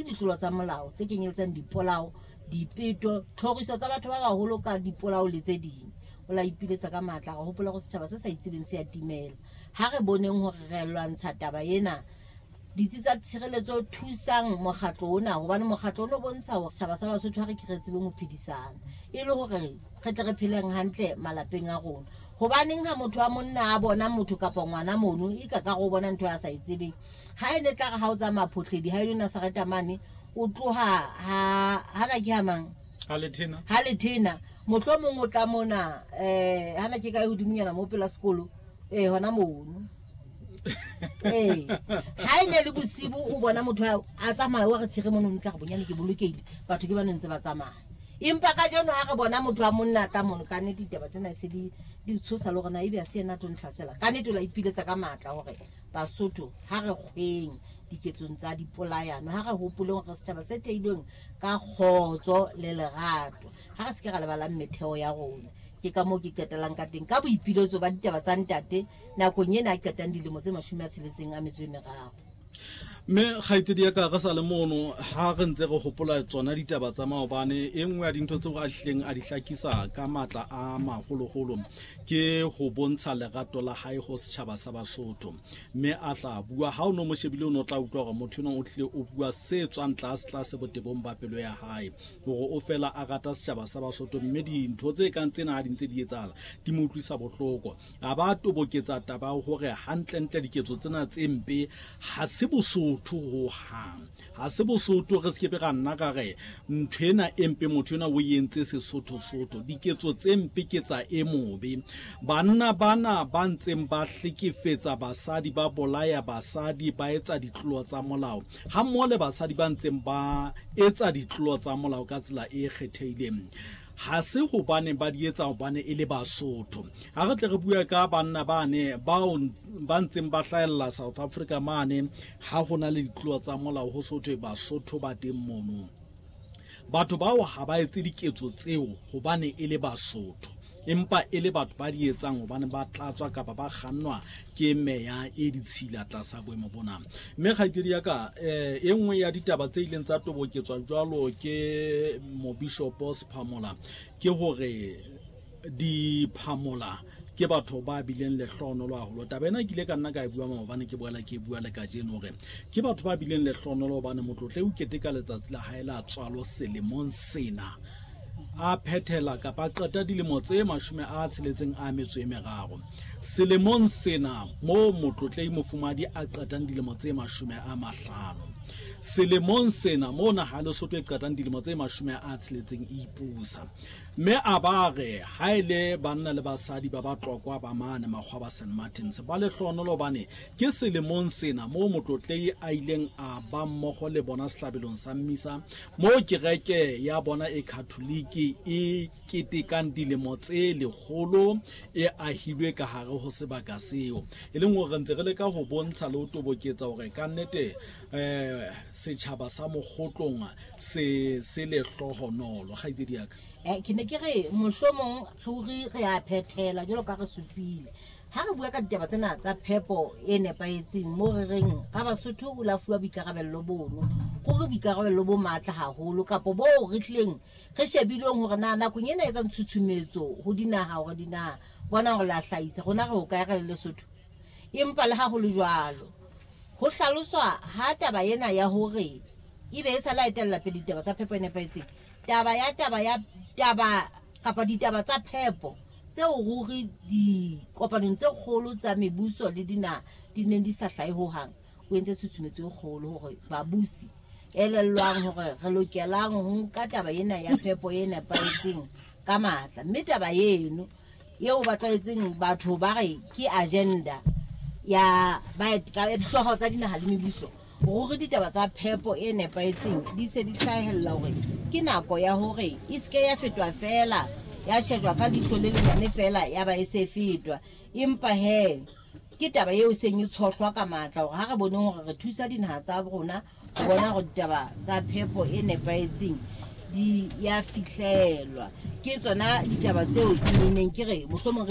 ditlolo tsa molao tse kenyeletsang dipolao, dipeto, tlhoriso tsa batho ba baholo ka dipolao le tse ding. O la ipiletsa ka matla, re hopola gore setjhaba se sa itsebeng se a timela. Ha re boneng hore re lwantsha taba ena. Ditsi tsa tshireletso thusang mokgatlo ona, hobane mokgatlo ono o bontsha hore setjhaba sa Basotho ha re ke re tsebeng ho phedisana e le hore re tle re pheleng hantle malapeng a rona. Hobaneng ha motho wa monna a bona motho kapa ngwana mono e ka ka go bona ntho a sa e tsebeng? Ha e ne tla re ha o tsamaya Photledi ha e le Nazareta mane o tloha ha hana ke ha mang? Ha lethena. Ha lethena. Mohlomong o tla mona hana ke kae hodimonyana mo pela sekolo hona mono. Ee, ha e ne le bosibu o bona motho a tsamaya wa re tshege mono ntla re bonyane ke bolokehile, batho ke ba ne ntse ba tsamaya. Empa ka jeno ha re bona motho wa monna a tla mono, ka nnete ditaba tsena se di tshosa le hore na ebe a se yena a tlo ntlhasela. Ka nnete o la ipiletsa ka matla hore Basotho ha re kgweng diketsong tsa dipolayano, ha re hopoleng hore setjhaba se theilweng ka kgotso le lerato, ha re se ke ra lebalang metheo ya rona. Ke ka moo ke qetellang ka teng ka boipiletso ba ditaba tsa ntate nakong ena a qetang dilemo tse 63. Mme kgaitsedi ya ka, re sa le mono ha re ntse re hopola tsona ditaba tsa maobane, e nngwe ya dintho tseo a hlileng a di hlakisa ka matla a maholoholo ke ho bontsha lerato la hae ho setjhaba sa Basotho. Mme a tla bua, ha o no mo shebile o no tla utlwa hore motho enwa o tlile o bua se tswang tlase tlase botebong ba pelo ya hae, hore o fela a rata setjhaba sa Basotho, mme dintho tse kang tsena ha di ntse di etsahala di mo utlwisa bohloko. A ba toboketsa taba ya hore hantlentle diketso tsena tse mpe ha se Bosotho hohang, ha se Bosotho. Re se ke be ra nna ra re ntho ena e mpe motho ena o entse Sesotho-sotho. Diketso tse mpe ke tsa e mobe. Banna bana ba ntseng ba hlekefetsa basadi, ba bolaya basadi, ba etsa ditlolo tsa molao, ha mmoho le basadi ba ntseng ba etsa ditlolo tsa molao ka tsela e kgethehileng, ha se hobane ba di etsa hobane e le Basotho. Ha re tle re bue ka banna bane bao ba ntseng ba hlahella South Africa mane, ha ho na le ditlolo tsa molao ho sothwe Basotho ba teng mono. Batho bao ha ba etse diketso tseo hobane e le Basotho, empa e le batho ba di etsang hobane ba tlatswa kapa ba kgannwa ke meya e ditshila tlasa boemo bona. Mme kgaitsedi ya ka, e nngwe ya ditaba tse ileng tsa toboketswa jwalo ke mobishopo Sephamola ke hore diphamola ke batho ba bileng lehlohonolo haholo. Taba ena ke ile ka nna ka e bua maobane, ke boela ke e bua le kajeno, hore ke batho ba bileng lehlohonolo hobane motlotle o keteka letsatsi la hae la tswalo selemong sena, a phethela kapa a qeta dilemo tse 63 selemong sena, moo motlotlei mofumadi a qetang dilemo tse 50 selemong sena, moo naha ya Lesotho e qetang dilemo tse 60 e ipusa. Mme a ba re ha e le banna le basadi ba Batlokwa ba mane Makgwa ba St Martins ba lehlohonolo hobane ke selemong sena moo motlotlei a ileng a ba mmoho le bona sehlabelong sa mmisa, moo kereke ya bona e Khatholike e ketekang dilemo tse 100 e ahilwe ka hare ho sebaka seo. E leng hore re ntse re leka ho bontsha le ho toboketsa hore ka nnete setjhaba sa Mokgotlong se se lehlohonolo. Kgaitsedi ya ka. Ke ne ke re mohlomong ruri re a phethela jwalo ka re supile ha re bua ka ditaba tsena tsa phepo e nepahetseng, moo re reng ra Basotho o la fuwa boikarabello bono, ruri boikarabello bo matla haholo, kapo boo re tlileng re shebileng hore na nakong ena e etsang tshutshumetso ho dinaha hore dinaha bona hore la hlahisa rona re hokae re le Lesotho. Empa le ha ho le jwalo, ho hlaloswa ha taba ena ya hore ebe e sa la etella pele ditaba tsa phepo e nepahetseng, taba ya taba ya taba kapa ditaba tsa phepo tseo ruri dikopanong tse kgolo tsa mebuso le dinaha di neng di sa hlahe hohang, o entse tshusumetso e kgolo hore babusi elellwang hore re lokelang ho nka taba ena ya phepo e nepahetseng ka matla. Mme taba eno eo ba tlwaetseng batho ba re ke agenda ya ba dihlooho tsa dinaha le mebuso, ruri ditaba tsa phepo e nepahetseng di se di hlahella hore ke nako ya hore e seke ya fetwa fela, ya shejwa ka leihlo le lenyane fela ya ba e se fetwa. Empa he ke taba eo seng e tshohlwa ka matla hore ha re boneng hore re thusa dinaha tsa rona ho bona hore ditaba tsa phepo e nepahetseng di ya fihlelwa. Ke tsona ditaba tseo ke neng ke re mohlomong.